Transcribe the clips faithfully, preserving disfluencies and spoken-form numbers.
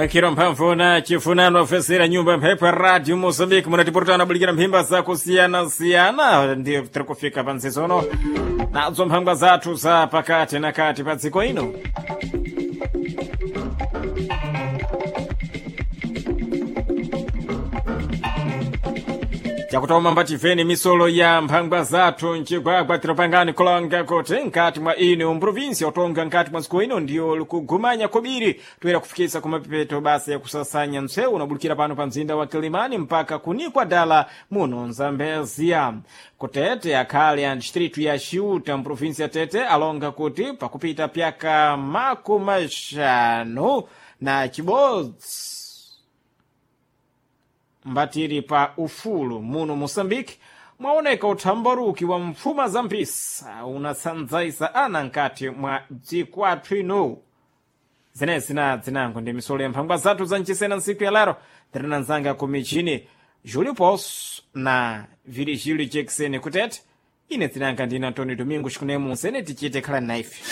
Mwekiro mphamvu na chifunano ofesera nyumba mphepo ya radio Mozambique munatipurutana bulikira mphimba zakusiyana-siyana ndiyo tiri kufika pa nzizono nadzo mphangwa zathu za pakati na kati pa dziko ino. Chakutoma mbativeni misolo ya mphangwa zathu mcigwagwa tiropangani kulonga kuti nkati mwa ino mprovinsi otonga nkati mwa dziko ino ndiyo likugumanya kobiri toera kufikisa kumapepeto basa yakusasanya ntsewu unabulukira pano pa mzinda wa Kilimani mpaka kunikwa dala muno Nzambezia. Kutete akhale a distritu ya Chiuta mprovinsi ya Tete alonga kuti pakupita pyaka makumi axanu na chibodzi mbatiri pa ufulu muno Moçambique mwaoneka uthambaruki wa mfuma za mpisa unatsanzaisa ana nkati mwa dziko athu ino. Zenezi na dzinango ndi misolo ya mphangwa zathu za mchisena ntsiku ya lero tirina nzanga ku michini Julio Poço na Virgílio Jackson kutete ine dzinanga ndine Antonio Domingos kunemu nsene tichite khala naife.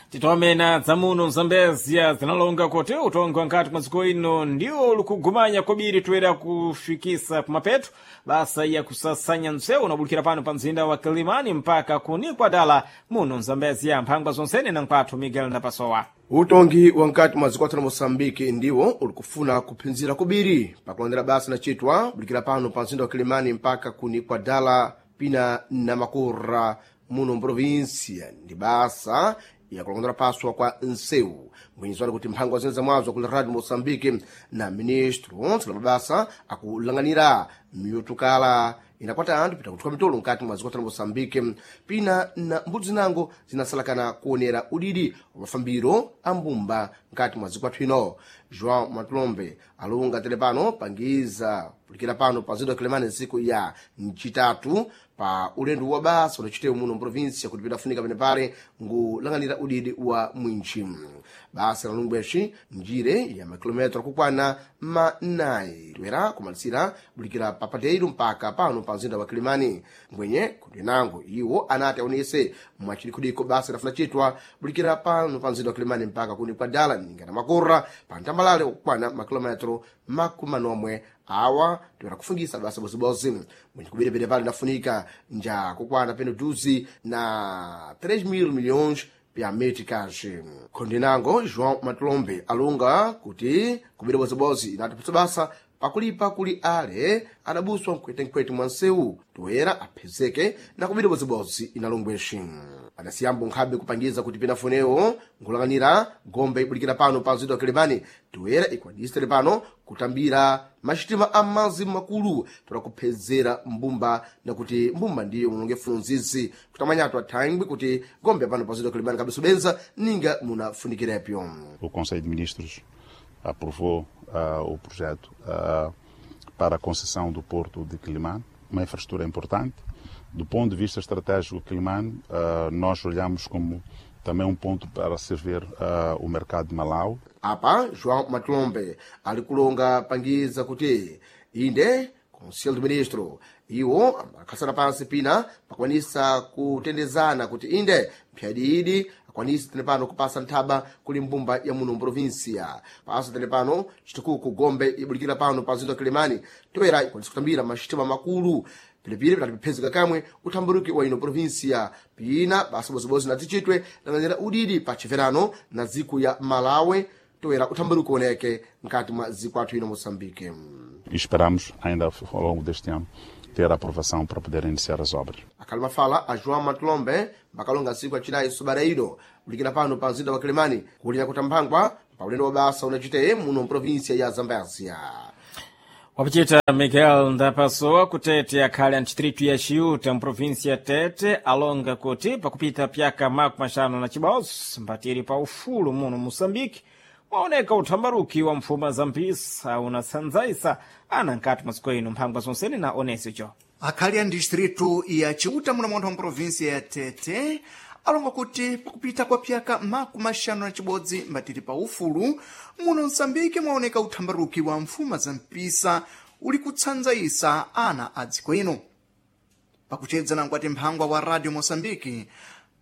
Titomena dzamuno Zambezia zinalonga kuti utongo nkati mwa dziko ino ndiwo likugumanya kobiri toera kufikisa kumapeto basa ya kusasanya ntsewu unabulukira pano pa mzinda wa Kilimani mpaka kunikwa dala muno Zambezia mphangwa zonsene na nkwathu Miguel Ndapasowa. Utongi wa nkati mwa dziko la Moçambique ndiwo ulikufuna kuphinzira kubiri pakulondera basa lacitwa bulikira pano pa mzinda wa Kilimani mpaka kunikwa dala pina na makura muno mprovinsia ndi basa yakulongondera paswa kwa nsewu mbwenyizwani kuti mphangwa zene zamwazo kuli radio Moçambique na ministro ntsala mabasa akulanganira miyutukala inakwata anthu pita kuthuka mitolo nkati mwa dziko la Moçambique pina na mbudzi zinango zinasalakana kuonera udidi wa mafambiro a mbumba nkati mwa dziko athu ino. João Matulombe alunga tele pano pangiza pulikira pano pa mzinda wa Kilimani ntsiku ya mcitatu pa ulendo wa basa unacitewo muno mprovinsia kuti pidafunika penepale ngulanganira udidi wa mwinchi basa la lungweshi njire ya makilometro akukwana manayi toera kumalisira bulikira pa Padeiro mpaka pano pa mzinda wa Kilimani mbwenye kuti nango iwo anati aonese mwachidikudiko basa lafuna chitwa bulikira pano pa mzinda wa Kilimani mpaka kuni kwa dala ningana makura pa ntambalale okukwana makilometro makumi manomwe awa toera kufungisa basa bozibozi mwenye kubiripire pale nafunika nja kukwana peno duzi na três mil milhões pya meticas. Khondinango João Matulombe alunga kuti kubira bozibozi inatiputsa basa pakulipa kuli ale adabuswa mkwetenkwete mwa nsewu toera aphezeke na kubira bozibozi inalongweshi adasiyambo nkhabe kupangiza kuti pinafunewo nkulanganira gombe ibulikira pano pa mzinda wa Kilimani toera ikwanise pano kutambira maxitima a mazi makulu tola kuphezera mbumba nakuti mbumba ndiyo mulonge funzizi kutamanyatu athangwi kuti gombe pano pa mzinda wa Kilimani kabiso benza ninga munafunikirepo. O Conselho de Ministros aprovou uh, o projeto uh, para a concessão do Porto de Quelimane, uma infraestrutura importante. Do ponto de vista estratégico, Quelimane, uh, nós olhamos como também um ponto para servir uh, o mercado de Malau. Apa João Matulombe ali kulonga pangiza kuti inde Conselho de Ministro iwo amakhatsana pansi pina pakwanisa kutendezana kuti inde mphyadidi akwanise tene pano kupasa nthaba kuli mbumba ya muno mprovinsia pasa tene pano chitukuku gombe ibulikira pano pa mzinda wa Kilimani toera ikwanisa kutambira maxitima makulu pilipili pitati piphezeka kamwe uthamburuki wa ino provinsia pina basa bozibozi na tichitwe langanyira udidi pa chiverano na dziko ya Malawi toera uthamburuki oneke nkati mwa dziko athu ino Moçambique. E esperamos ainda ao longo deste ano ter a aprovação para poder iniciar as obras. Akhali mafala a João Matulombe makalonga ntsiku acinayi subareiro bulikira pano pa mzinda wa Kilimani kulira kutamphangwa pa ulendo wa basa unaciteye muno mprovinsia ya Zambézia. Wapichita Miguel Ndapasowa kutete akhale a distritu ya Chiuta mprovinsi ya Tete alonga kuti pakupita pyaka makumi axanu na chibodzi mbatiri pa ufulu muno Moçambique mwaoneka uthambaruki wa mfuma za mpisa unatsanzaisa ana nkati mwa dziko ino mphangwa zonsene na onesio cho akhali a distritu ya Chiuta muno munthu wa mprovinsia ya Tete alonga kuti pakupita kwa pyaka makumi axanu na chibodzi mbatiri pa ufulu muno Msambiki mwaoneka uthambaruki wa mfuma za mpisa uli kutsanzaisa ana a dziko ino. Pakuchedza na mkwati mphangwa wa Radio Moçambique,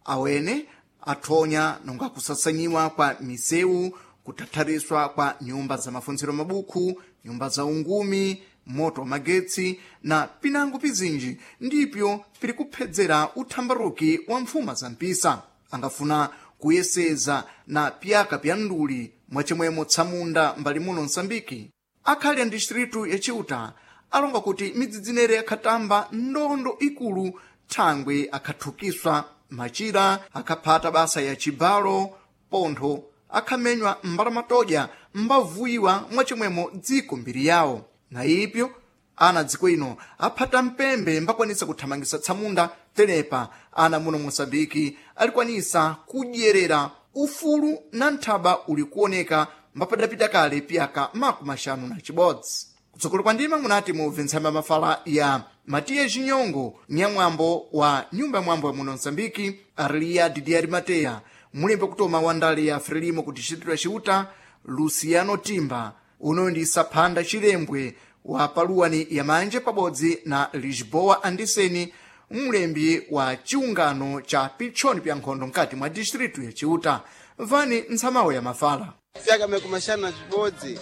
awene athonya nonga kusasanyiwa kwa misewu, kutathariswa kwa nyumba za mafunziro mabukhu, nyumba za ungumi, moto wa magetsi na pinango pizinji ndipyo pili kuphedzera uthambaruki wa mfuma za mpisa. Angafuna kuyeseza na piyaka pya nduli mwachimwemo tsamunda mbali muno Msambiki. Akhali a distritu ya Chiuta alonga kuti midzidzinere akhatamba ndondo ikulu thangwe akhathukiswa machira, akhaphata basa ya chibalo, pontho akhamenywa mbalamatoja mbavuyiwa mwachimwemo dziko mbiri yawo. Na ipyo ana dziko ino aphata mpembe mbakwanisa kuthamangisa tsamunda tenepa ana muno Moçambike alikwanisa kudyerera ufulu na nthaba uli kuoneka mbapadapita kale piyaka makumi axanu na chibodzi. Kutsogolo kwa ndima munati mubve ntsamba mafala ya Matiya Chinyongo, nyamwambo wa nyumba ya mwambo ya muno Msambiki, Arlia Didier Mateya, mulembe kutoma wa ndale ya Frelimo ku distritu ya Chiuta, Luciano Timba, uno ndi Saphanda Chilembwe wa paluwani ya manje pabodzi na Lisboa Andiseni, mlembi wa chiungano cha pitchoni pya nkhondo mkati mwa distritu ya Chiuta. Vani ntsamawo ya mafala. Fyaka makumi axanu na cibodzi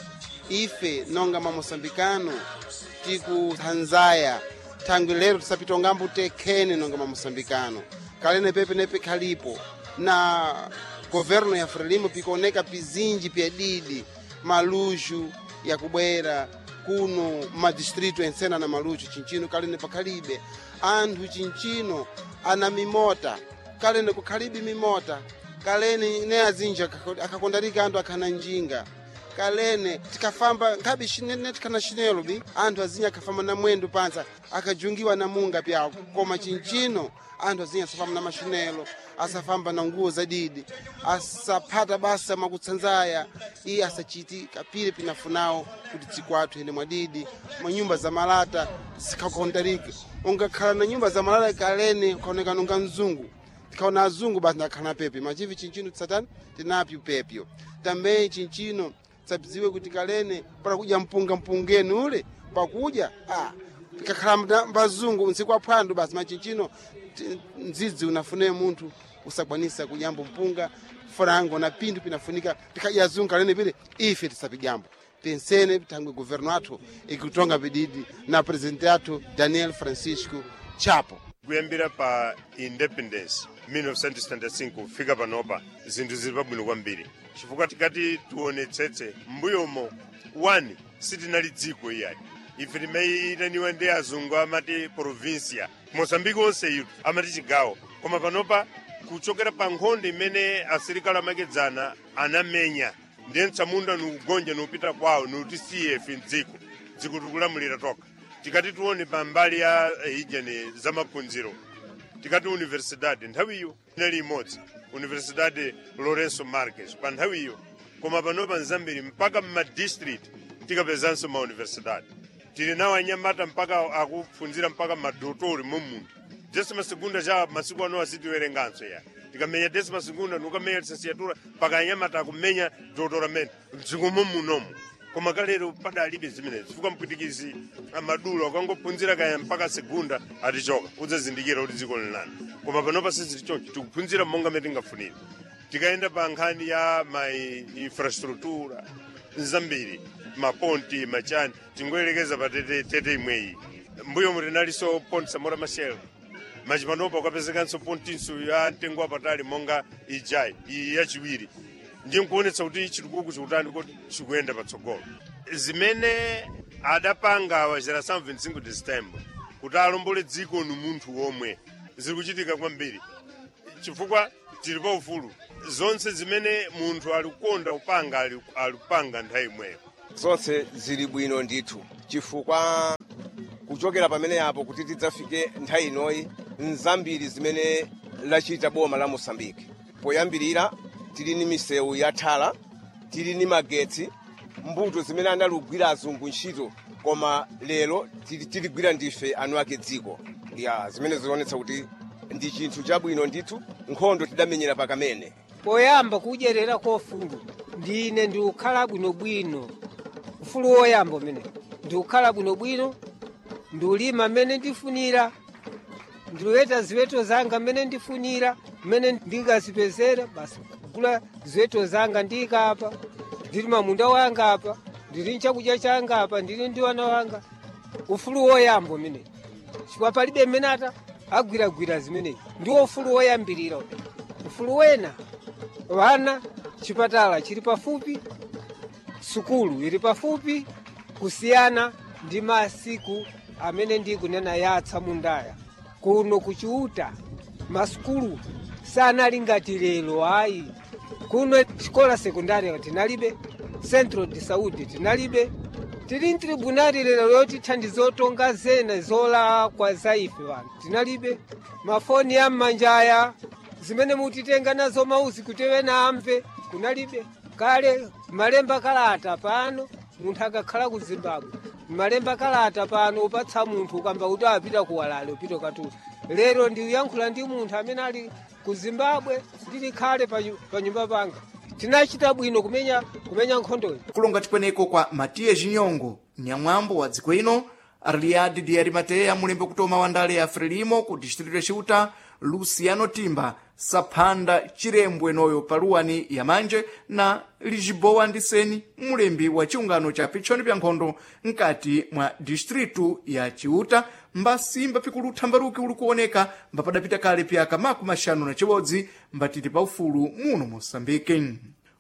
ife nonga mamoçambikano tikuthanzaya thangwi lero tisapitongambo tekhene nonga mamoçambikano kalene pepe nepe khalipo na governo ya Frelimo pikuoneka pizinji pyadidi maluxu yakubwera kuno madistritu ensena na maluxu chinchino kalene pakhalibe anthu chinchino ana mimota kalene kukhalibe mimota kalene ne azinji akhakondarika anthu akhana njinga kalene tikafamba nkhabe ne tikhana chinelo bi anthu azinji akhafamba na mwendo pansa akajungiwa na munga pyawo koma chinchino anthu azinji asafamba na machinelo asafamba na nguwo zadidi asaphata basa mwakutsanzaya iye asachiti kapile pinafunawo kuti dziko athu ene mwadidi manyumba za malata zikhakondarike ungakhala na nyumba za malata kalene ukaonekana unga mzungu tikaona azungu basi ndakhala pepe machivi chinchino tisatani tinapyo pepyo tambe chinchino tsadziwe kuti kalene pakudya mpunga mpungeni ule pakudya ah, tikakhala mbazungu ntsiku aphwando basi machinchino mdzidzi unafune munthu usakwanisa kudyambo mpunga frango na pinthu pinafunika tikadya azungu kalene pile ife tisapidyambo pensene thangwe governo athu ikutonga pididi na presidente athu Daniel Francisco Chapo. Kuyambira pa independence mil novecentos e setenta e cinco kufika panopa zinthu zili pabwino kwambiri chifukwa tikati tionetsetse m'mbuyomo one sitinali dziko iyayi ife timayitaniwa ndi azungu amati provincia Moçambique onse itu amati chigawo koma panopa kuchokera pa nkhondo imene asilikali amakedzana anamenya ndiye mtsamunda nikugonja niupita kwawo niutisiye ife mdziko dziko tikulamulira toka. Tikati tione pambali ya ijeni za maphunziro tikati universidade nthawiyo inali imodzi Universidade Lourenço Marques pa nthawiyo koma panopa nzambiri mpaka mmadistrict tikapezanso ma universidade tili nawo anyamata mpaka akuphunzira mpaka madotori mommuno décima segunda cha masiku ano asitiwerenganso ya tikamenya décima segunda nukamenya licenciatura mpaka anyamata akumenya doutoramento mdziko mommunomo koma kalero padalibe zimenezi chifukwa mpwitikizi amadulo akangophunzira kaya mpaka segunda atichoka udzazindikira kuti dziko linani koma panopa sizili choncho tikuphunzira monga mmene tingafunire. Tikayenda pa nkhani ya ma infrastructura zambiri maponti machani tingoyerekeza pa tete, tete imweyi mbuyo mutinalinso ponti Samora Machel machipanopa ukapezekanso pontinso ya mtengo wapatali monga ijayi iyi yachiwiri ndiye nkuonetsa kuti chitukuko chikutani kuti chikuyenda patsogolo. Zimene adapanga wa geração vinte e cinco de setembro kuti alombole dziko ni munthu womwe ziri kuchitika kwambiri chifukwa tili pa ufulu zonse zimene munthu alikukonda kupanga alikupanga nthawi imweyo. Zonse zili bwino ndithu chifukwa kuchokera pamene apo kuti tidzafike nthawi inoyi nzambiri zimene lachita boma la Mosambiki. Poyambirira tili ni misewu ya thala, tili ni magetsi, mbuto zimene analugwira azungu ntchito koma lero tiligwira ndife anu ake dziko ya zimene zionetsa kuti ndi chinthu chabwino ndithu. Nkhondo tidamenyera pakamene poyamba kudyerera kofulu ndine ndiukhala bwinobwino ufulu woyamba umene ndiukhala bwinobwino ndiulima mmene ndifunira Ndiloweta ziweto zanga mmene ndifunira, mmene ndingazipezera basi kugula ziweto zanga ndikapa. Ndili mamunda wanga apa, ndili nchakudya changa apa, ndili ndi wana wanga. Ufulu woyamba umene chifukwa palibe mmene ata agwiragwira zimenezi, ndiwo ufulu woyambirira. Ufulu wena, wana chipatala chili pafupi, sukulu ili pafupi, kusiyana ndi masiku amene ndikunena yatsa mundaya kuno kuchiuta. Masukulu sanali ngati lero ayi. Kuno xikola sekundari tinalibe, centro de saúde tinalibe, tili mtribunali lero yotithandiza otonga zena zolakwa za ife vanthu tinalibe, mafoni ya mmanjaya zimene mutitenga nazo mauzi kuti ena amve kunalibe. Kale malemba kalata pano, munthu akakhala ku Zimbabwe malemba kalata pano upatsa munthu ukamba kuti apita kuwalale upita katula. Lero ndikuyankhula ndi munthu amene ali ku Zimbabwe ndili khale pa nyumba panga. Tinachita bwino kumenya kumenya nkhondoyi. Kulonga tikweneko kwa Matiya Jinyongo, nyamwambo wa dziko ino, Arliadi de Arimateya, mulembe kutoma wa ndale ya Frelimo ku distrito ya Ciuta, Luciano Timba, Saphanda Chirembwe noyo paluwani ya manje na Lisboa Ndiseni, mulembi wa chiungano cha pitchoni pya nkhondo mkati mwa distritu ya Ciuta, mbasimba pikulu thambaruki uli kuoneka mbapadapita kale pyaka makumi axanu na chibodzi mbatiti pa ufulu muno Moçambique.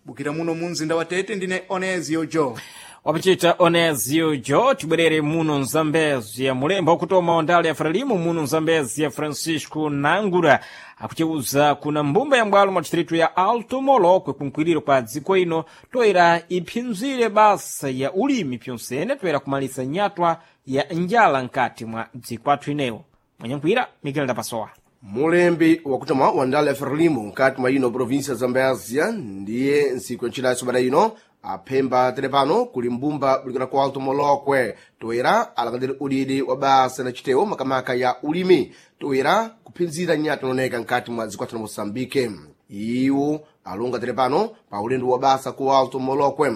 Bukira muno mu mzinda wa Tete, ndine Onezio Jo. Wapachita Onezio Jo. Tibwerere muno Mzambezi. Mulembo wakutoma wa ndale ya Frelimo muno Mzambezi ya Francisco Nangura akuceuza kuna mbumba ya mbwalo mwa distritu ya Alto Molokwe kunkwiriro kwa dziko ino toera iphinzire basa ya ulimi pyonsene toera kumalisa nyatwa ya njala nkati mwa dziko athu inewo. Mwanyankhwira Miguel Ndapasowa. Mulembi wakutoma wa ndale ya Frelimo nkati mwa ino província ya Zambézia ndiye ntsiku ya ntchinayi sabata ino aphemba telepano kuli mbumba bulikira ku Alto Molokwe toera alakadiri udidi wa basa na chitewo makamaka ya ulimi toera kuphinzira nyati inooneka nkati mwa dziko la Moçambique. Iwo alonga telepano pa ulendo wa basa ku Alto Molokwe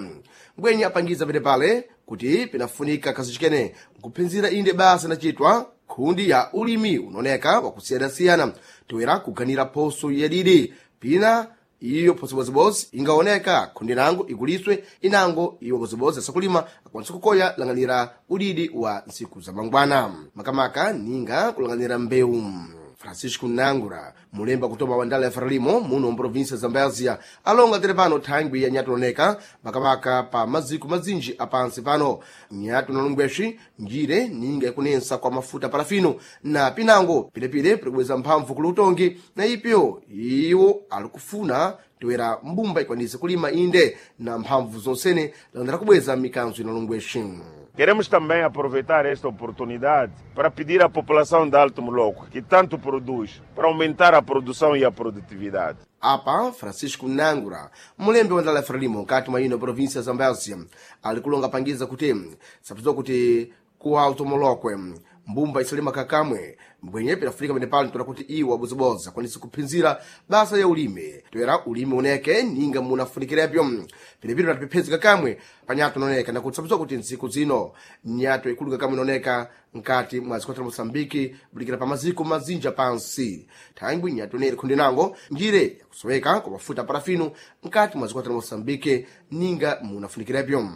mbwenye apangiza pelepale kuti pinafunika kazichikene nkuphinzira inde basa inachitwa khundi ya ulimi unaoneka wakusiyanasiyana toera kuganira phoso yadidi pina iyo phoso bozibozi ingaoneka khundi nango ikuliswe inango iwo bozibozi asakulima akwanisa kukoya lang'anira udidi wa ntsiku za mangwana makamaka ninga kulang'anira mbewu. Francisco Nangura, mulemba kutoma wa ndala ya Frelimo muno mprovinsia ya Zambézia, alonga tere pano thangwi ya nyati oneka makamaka pa maziko mazinji apansi pano nyati unalungwexi njire ninga ikunensa kwa mafuta parafino na pinango pilepile pikubweza mphamvu kuli utongi na ipyo iwo alikufuna toera mbumba ikwanise kulima inde na mphamvu zonsene landera kubweza mikanzo inalungwexi. Queremos também aproveitar esta oportunidade para pedir à população de Alto Molokwe, que tanto produz, para aumentar a produção e a produtividade. Apa Francisco Nangura, mulembe wa ndala ya Frelimo nkati mwa ino província ya Zambézia, ali kulonga pangiza kuti sapziwa kuti ku Alto Molokwe mbumba isalima kakamwe mbwenye pinafunika pene pano toera kuti iwo abozibozi akwanise kuphinzira basa ya ulimi toera ulimi uneke ninga munafunikirepyo pinepino patipephezi kakamwe panyato inaoneka nakuti sapziwa kuti ntsiku zino nyato ikulu kakamwe inaoneka nkati mwa dziko la Moçambique bulikira pa maziko mazinja pansi thangwi nyato ineri khundi nango njire yakusoweka kwa mafuta parafino nkati mwa dziko la Moçambique ninga munafunikirepyo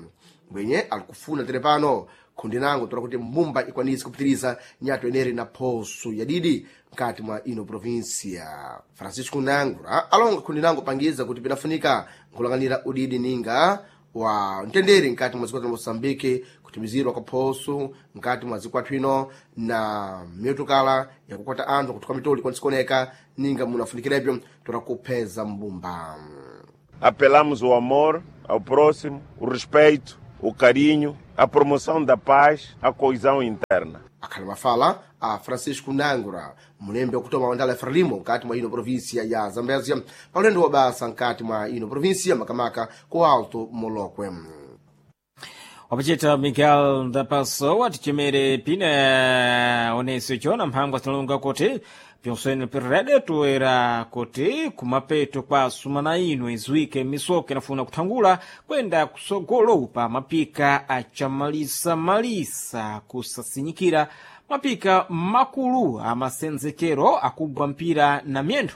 mbwenye alikufuna tere pano khundi nango tola kuti mbumba ikwanise kupitiriza nyato ineri na phoso yadidi nkati mwa ino província. Francisco Nangura alonga khundi nango pangiza kuti pinafunika nkulang'anira udidi ninga wa mtendere nkati mwa dziko la Moçambique kutimizirwa kwa phoso nkati mwa dziko athu ino na miotukala yakukwata anthu kuthuka mitoli ikwanise kuoneka ninga munafunikirepyo tola kupheza mbumba. Apelamos ao amor, ao próximo, o respeito, o carinho, a promoção da paz, a coesão interna. Akhala mafala a Francisco Nangura, mulembe wakutoma wa ndala ya Frelimo nkati mwa ino província ya Zambézia pa ulendo wa basa nkati mwa ino província makamaka ku Alto Molokwe. Wapachita Miguel Ndapasowa. Tichemere pina oneso chona mphangwa zinalonga kuti pyonsene pirede toera kuti kumapeto kwa sumana ino iziwike misoka inafuna kuthangula kwenda kusogolo pa mapika achamalisamalisa kusasinyikira Mapika makulu amasenzekero akugwa mpira na miyendo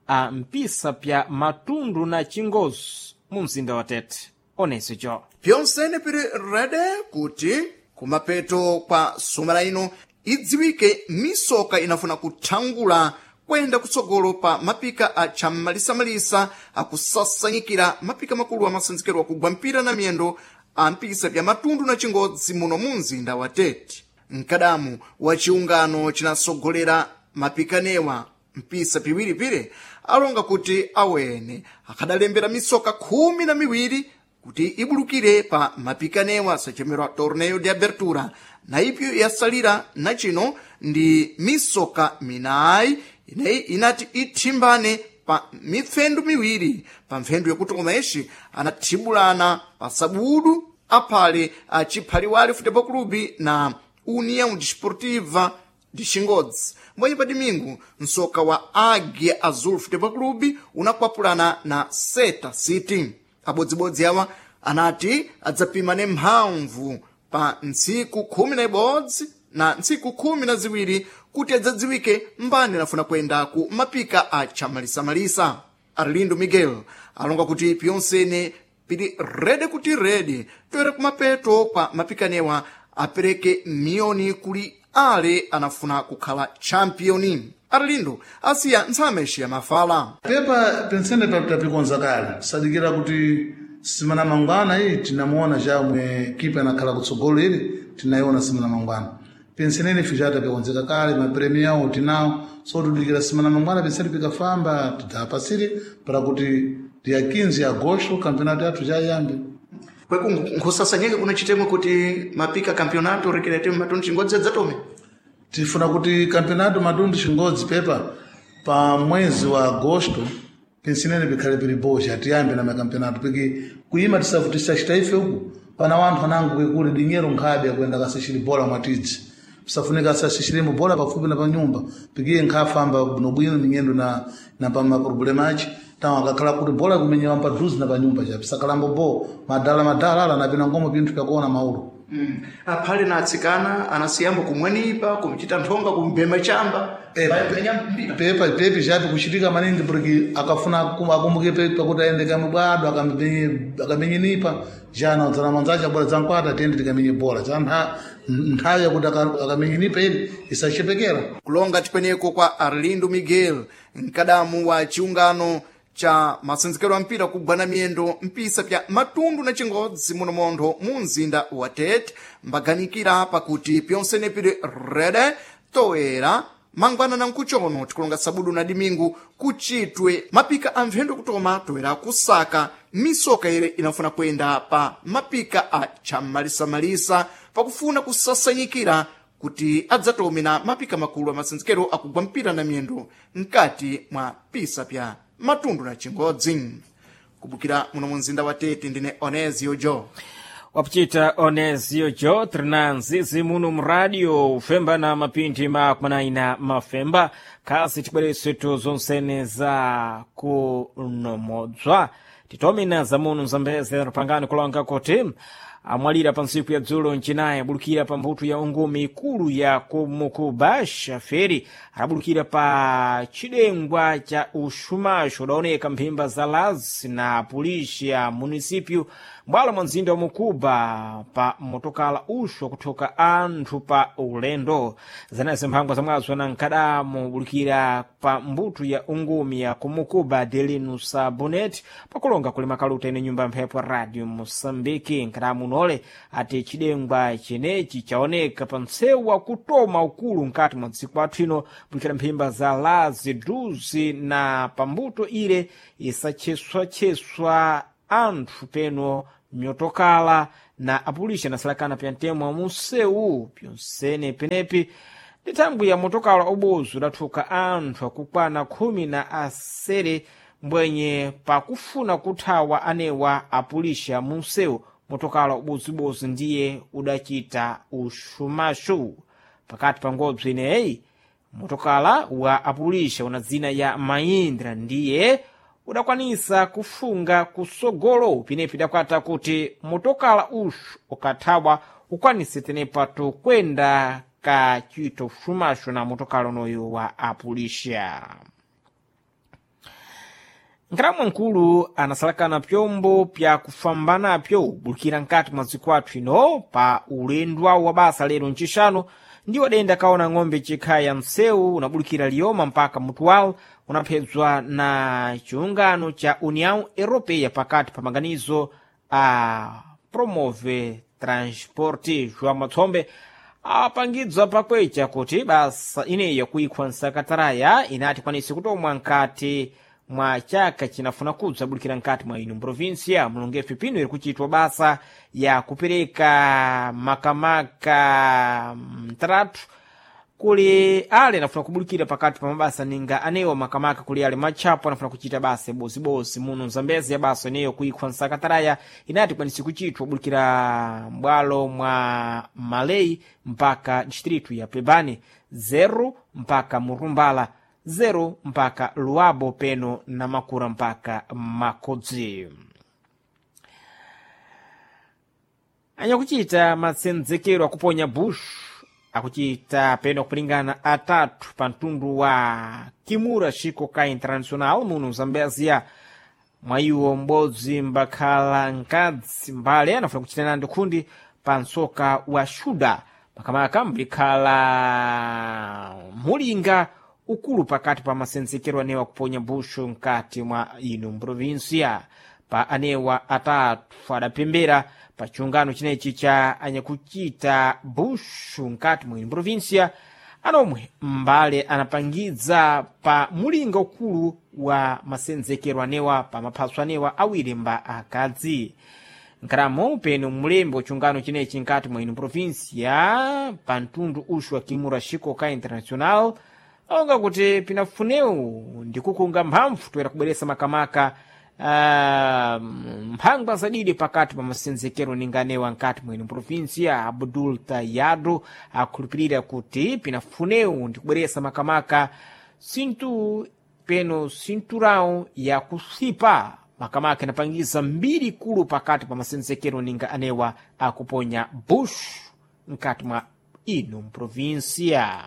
a mpisa pya Matundu na Chingozi mu mzinda wa Tete. Oneso Pyonsene pili rede kuti kumapeto kwa sumana ino idziwike misoka inafuna kuthangula kwenda kutsogolo pa mapika a chamalisamalisa akusasanyikira mapika makulu amasenzekero akugwa mpira na miyendo a mpisa pya Matundu na Chingodzi muno mu mzinda wa Tete. Mkadamu wa chiungano chinasogolera mapikanewa mpisa piwiripire alonga kuti awene akadalembera misoka khumi na miwiri kuti ibulukire pa mapikanewa sachemerwa Torneo de Abertura, na ipyo yasalira nachino ndi misoka minayi ineyi inati ithimbane pa mipfendu miwiri. Pa mpfendu yakutoma ixi anathibulana pa sabudu aphale a Chiphaliwali Futebol Clube na União Desportiva de Xingodzi, mbwenye pa domingo msoka wa Águia Azul Futebol Clube unakwapulana na Seta City. Abodzibodzi awa anati adzapimane mphamvu pa ntsiku khumi na ibodzi na ntsiku khumi na ziwiri kuti adzadziwike mbani anafuna kuyenda ku mapika a chamalisamalisa. Arlindo Miguel alonga kuti pyonsene pili rede kuti rede toera kumapeto kwa mapikanewa apereke miyoni kuli ale anafuna kukhala championi. Arlindo asiya ntsameshi ya mafala. Pepa pensene tapikonza kale sadikira kuti simana mangwana iyi tinamuona chamwe kipa anakhala kutsogolo ili tinayiona simana mangwana pensenene ife chatapikonzeka kale mapremi yawo tinawo, so tudikira simana mangwana pensene pikafamba tidzapasire para kuti dia quinze ya agosto campeonato yathu chayambe. Kweku nkhusasanyike kuno chitemwe kuti mapika campeonato recreativo Matundu Chingodzi adzatome. Tifuna kuti campeonato Matundu Chingodzi pepa pa mwezi wa agosto pensinene pikhale pili bosha tiyambe na makampeonato piki kuima tisachita ife uku pana wanthu anango kwekuli dinyero nkhabe akuyenda kasishiri bola mwatidzi pisafunika asasishiremo bola pafupi na panyumba pikiye nkhafamba bwinobwino minyendo na, na pa maproblema achi tawo akakhala kuti bola kumenyewa padhuzi na panyumba cha pisakalambo bo madala madala ala napina ngomo pinthu pyakuona maulu. Mm. Aphale na atsikana anasiyambo kumwenipa kumchita nthonga kumbema chamba. Pepa pepi chapi kuchitika maningi porque akafuna akumbuke pepa kuti aende kamubwado akamenyenipa jana udzana manzacha bora zankwata tiyende tikamenye bola cha nthawi yakuti akamenyenipa ili isachepekera. Kulonga tipweneko kwa Arlindo Miguel, mkadamu wa chiungano cha masenzekero a mpira kugwana miyendo mpisa pya Matundu na Chingodzi muno montho mu mzinda wa Tete, mbaganikira pakuti pyonsene pili rede toera mangwana na nkuchono tikulonga sabudu na dimingu kuchitwe mapika a mphendo kutoma toera kusaka misoka ile inafuna kuyenda pa mapika a chamalisamalisa pakufuna kusasanyikira kuti adzatome na mapika makulu a masenzekero akugwa mpira na miyendo mkati mwa pisa pya Matundu na Chingodzi. Kubukira muno mu mzinda wa Tete, ndine Onesio Jo. Wapuchita Onesio Jo trinanzizi muno mradio ufemba na mapinthi makumanayi na mafemba kasi tibweresetu zonsene za kunomodzwa titomena za muno mzambeze pangani kulonga kuti amwalira pa ntsiku ya dzulo mchinayi abulukira pa mphuthu ya ungumi ikulu ya kumukuba shaferi adabulukira pa chidengwa cha uxumaxo udaoneka mphimba za Lazi na polisi ya munisipyu mbwalo mwa mzinda wa Mukuba pa motokala uxo akuthoka anthu pa ulendo. Zanazi mphangwa zamwazo na nkadamo bulukira pa mbuto ya ungumi ya kumukuba Delino Sabonet pakulonga kulima kaluta ine nyumba mphepo ya Radio Moçambique. Nkadamu unole ati chidengwa chenechi chaoneka pa msewu wa kutoma ukulu mkati mwa dziko athu ino bulukira mphimba za Lazi duzi na pambuto ile isacheswacheswa anthu peno myotokala na apulisha nasalakana pya ntemo wa munsewu pyonsene penepi ndi thangwi ya motokala ubozi udathuka anthu akukwana khumi na asere mbwenye pakufuna kuthawa anewa apulisha munsewu motokala ubozibozi ndiye udachita uxumaxu pakati pa ngobzi ineyi motokala wa apulisha una dzina ya Mahindra ndiye udakwanisa kufunga kusogolo pinepi idakwata kuti motokala uxu ukathawa ukwanise tenepato kwenda kachita ushumashu na motokala unoyo wa apulisha. Nkhalamwa nkulu anasalakana pyombo pya kufamba napyo bulukira nkati mwa dziko athu ino pa ulendo wawo wa basa lero ncixanu, ndiwo denda kaona ng'ombe cikhaya msewu unabulukira Lioma mpaka Mutual, unaphedzwa na chiungano cha União Europeia pakati pa maganizo a Promove Transporte. João Matsombe apangidzwa pakwecha kuti basa ineyi yakuikhwa nsakataraya inati kwanise kutomwa nkati mwa chaka chinafuna kudza bulikira nkati mwa ino provinsia. Mulongefe pino iri kuchitwa basa ya kupereka makamaka mtratu kuli ale anafuna kubulikira pakati pa mabasa ninga anewa makamaka kuli ale matchapo anafuna kuchita basa bosibosi muno Mzambezi ya basa ineyo kuikhwa nsakataraya inati kwanisi kuchitwa bulikira mbwalo mwa Malei mpaka distritu ya Pebani zero mpaka Murumbala zero mpaka Luabo peno na Makura mpaka Makodzi. Anyakuchita matsenzekero akuponya bush akuchita peno kulingana atatu pa mtundu wa Kimura Shiko ka International muno Zambezia. Mwayiwo m'bodzi mbakhala nkadzi mbale anafuna kuchita nandi khundi pa msoka wa shuda makamaka mbikhala mulinga ukulu pakati pa masenzekero anewa kuponya bushu nkati mwa ino mprovinsia. Pa anewa atatu adapembera pa chiungano chinechi cha anyakuchita bushu nkati mwa ino mprovinsia, anomwe mbale anapangidza pa mulinga ukulu wa masenzekero anewa pa maphaso anewa awiri mba akadzi. Nkaramo peno mlembi wa chiungano chinechi nkati mwa ino provinsia pa mtundu uxu wa Kimura Shiko ka International aonga kuti pinafunewu ndikukunga mphamvu toera kubweresa makamaka uh, mphangwa zadidi pakati pa masenzekero ninganewa nkati mwene provinsia. Abdul Tayado akhulupirira kuti pinafunewu ndikubweresa makamaka sintu peno sinturão ya kusipa makamaka inapangiza mbiri kulu pakati pa masenzekero ninga anewa akuponya bush nkati mwa ino provinsia.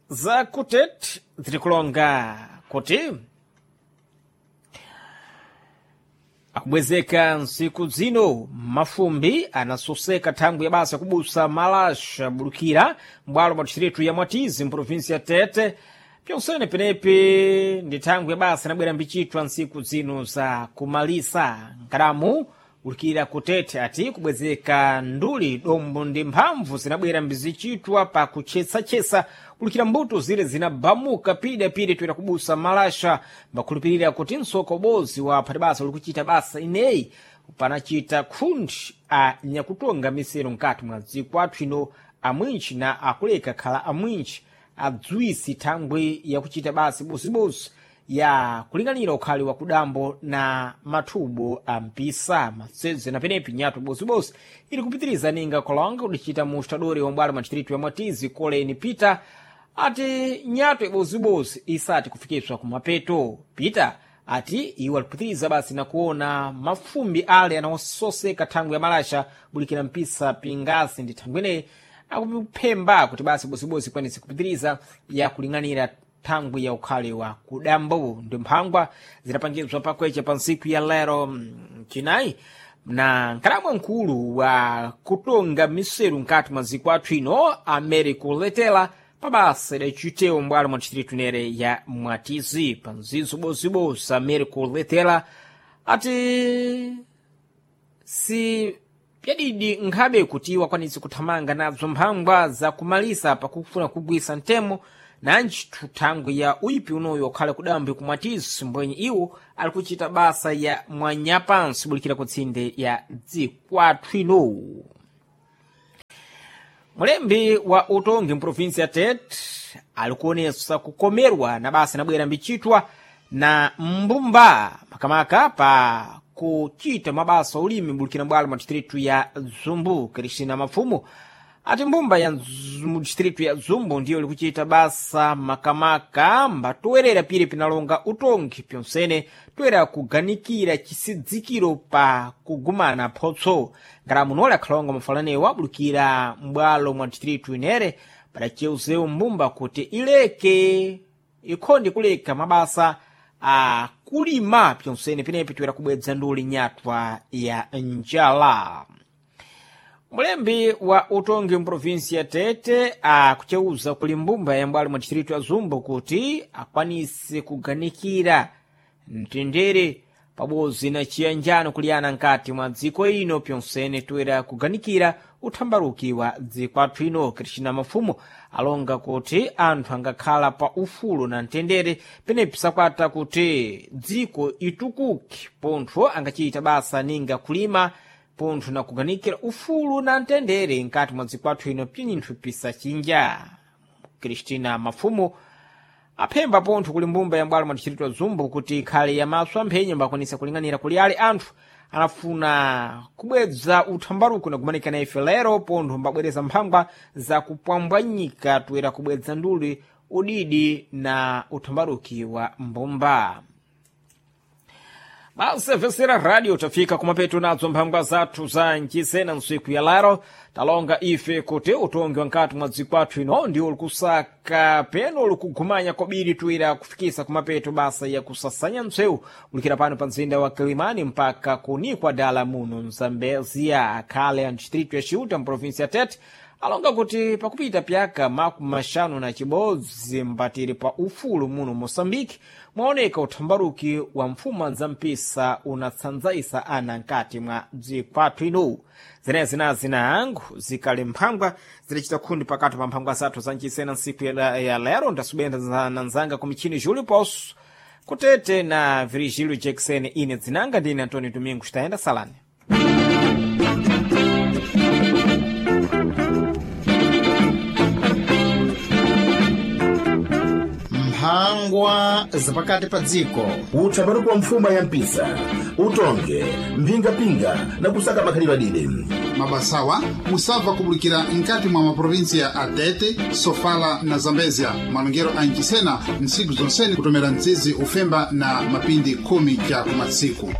Zakutet zirikulonga kuti akubwezeka nsiku zino mafumbi anasoseka thangwi ya basa kubusa malasha bulukira mbwalo mwa distritu ya Mwatizi mprovinsi ya Tete. Pyonsene penepi ndi thangwi ya basa inabwera mbichitwa nsiku zino za kumalisa nkadamu ulikira kutete ati kubwezeka nduli dombo ndi mphamvu zinabwera mbizichitwa pa kuchesachesa kulikira mbuto zile zinabamuka pidapidi toera kubusa malasha. Mbakhulupirira kuti msoka ubozi wa phatibasa uli kuchita basa ineyi panachita khundi a nyakutonga misero nkati mwa dziko athu ino amwinchi na akuleka khala amwinchi adziwisi thangwi yakuchita basa bosibosi ya kulinganira ukhali wa kudambo na mathubo a mpisa matsedze na penepi nyato bosibosi ili kupitiriza ninga kolonga kudichita mu estadori wa mbwalo mwa distritu ya Mwatizi Koleni Peter ati nyato ibosibosi isati kufikiswa kumapeto. Peter ati iwo alikupitiriza basi na kuona mafumbi ale anawososeka thangwi ya malasha bulikira mpisa pingasi ndi thangwi ineyi akuphemba kuti basi bosibosi ikwanise kupitiriza ya kuling'anira thangwi ya ukhale wa kudambo ndi mphangwa zidapangizwa pakwecha pa ntsiku ya lero mm, chinayi na nkalamwa mkulu wa kutonga miseru nkati mwa dziko athu ino Americo Letela pabasa idacitewo mbwalo mwa distritu inere ya Mwatizi. Pa mzizo bosibosi Americo Letela ati si pyadidi nkhabe kuti wakwanitse kuthamanga nadzo mphangwa zakumalisa pakufuna kugwisa mtemo nanji thangwi ya uipi unoyo wakhala kudambi kumwatizi mbwenye iwo ali kuchita basa ya mwanyapansi bulikira kutsinde ya dzikwathu ino. Mulembi wa utongi mprovinsi ya Tete alikuonesa kukomerwa na basa inabwera mbichitwa na mbumba makamaka pa kuchita mabasa ulimi bulikira bwalo mwa distritu ya Zumbu. Kristina Mafumu Ati mbumba ya mu distritu ya Zumbu ndiyo likuchita basa makamaka mbatowerera pire pinalonga utongi pyonsene toera kuganikira chisidzikiro pa kugumana photso. Ngati munoli akhalonga mafalanewo abulukira m'bwalo mwa distritu inere padaceuzewu mbumba kuti ileke ikhonde kuleka mabasa a kulima pyonsene penepi toera kubwedza nduli nyatwa ya njala. Mulembi wa utongi mprovinsi ya Tete akuceuza kuli mbumba ya mbwalo mwa distritu ya Zumbu kuti akwanise kuganikira mtendere pabodzi na chiyanjano kuliyana nkati mwa dziko ino pyonsene toera kuganikira uthambaruki wa dziko athu ino. Kristina Mafumo alonga kuti anthu angakhala pa ufulu na mtendere penepi sakwata kuti dziko itukuke pontho angachita basa ninga kulima pontho na kuganikira ufulu na mtendere nkati mwa dziko athu ino pinthu pisachinja. Kristina Mafumo aphemba pontho kuli mbumba ya mbwalo mwa distritu ya Zumbu kuti ikhale yamaso amphenyo mbakwanisa kuling'anira kuli ale anthu anafuna kubwedza uthambaruko na kumanikana ife lero pontho mbabwereza mphangwa za kupwambwanyika toera kubwedza nduli udidi na uthambaruki wa mbumba. Basevesera radio tafika kumapeto nadzo mphangwa zathu za nchisena ntsiku ya lero. Talonga ife kuti utongi wa nkati mwa dziko athu ino ndiwo likusaka peno likugumanya kobiri tuira kufikisa kumapeto basa ya kusasanya ntsewu kulikira pano pa mzinda wa Kilimani mpaka kunikwa dala muno Mzambezia akhale a distritu ya Chiuta mprovinsi ya Tete alonga kuti pakupita pyaka makumi maxanu na chibodzi mbatiri pa ufulu muno Moçambique mwaoneka uthambaruki wa mfuma za mpisa unatsanzaisa ana nkati mwa dziko athu ino. Zenezi na zina angu zikali mphangwa zidacita khundi pakati pa mphangwa zathu za nchisena ntsiku ya, ya lero. Ndasubenda na nzanga ku michini Julio Posso kutete na Virgílio Jackson. Ine dzinanga ndine Antonio Domingos. Tayenda salani. Mphangwa zapakati pa dziko. Uthambaruki wa mfuma ya mpisa utonge mphingapinga na kusaka makhalidwe adide. Mabasawa musabva kubulikira nkati mwa maprovinsiya a Tete, Sofala na Zambezia. Malongero a nchisena ntsiku zonsene kutomera mtsizi ufemba na mapindi khumi ja kumatsiku.